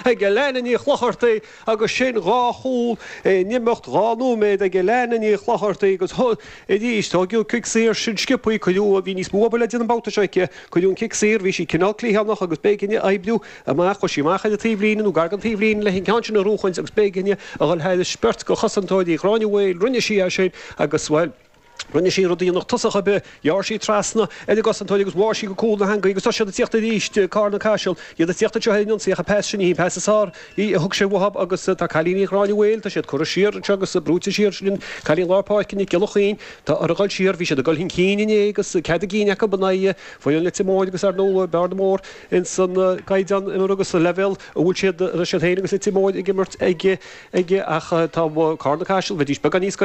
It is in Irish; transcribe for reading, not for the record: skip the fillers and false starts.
ag Alana Ní Chlochartaigh agus sin 2 chúl in imeacht 2 nóiméad ag Alana Ní Chlochartaigh agus arís tóigeadh cic saor sin sciobthaí, cuireadh, bhí níos mó obair le déanamh an babhta seo aici, cuireadh an cic saor, bhí sí cineál cliathánach agus b'éigean di oibriú amach, chuaigh sí amach ar an taobhlíne nó gar don taobhlíne leis an gceann sin a bhuachaint agus b'éigean di a dhul thairis beirt de chosantóirí Ghráinne Mhaoil, rinne sí é sin agus, bhuel. Rinne sí rud a dhéanfadh tosach ar bith, ghearr sí trasna ar an gcosantóir agus bháigh sí go cúl na heangaí agus tá siad ag tíocht arís, Carna Caiseal, iad ag tíocht anseo ar an ionsaí ach an pas sin ní hí an pas is fearr í a thug sé uathu agus tá cailíní Ghráinne Mhaoil, tá siad curtha siar anseo agus brúite siar, sin cailín lár páirce Nic Giolla Chaoin, tá orthu dhul siar, bhí siad ag dul chun cinn inné agus cead a gcinn acu in aghaidh foireann Leitir Móir agus ar ndóigh bearna mór ins an gcaighdeán imeartha agus sa leibhéal a bhfuil siad, a raibh siad féin agus Leitir Móir ag imirt ag ach tá Carna Caiseal, bheidís beagán níos.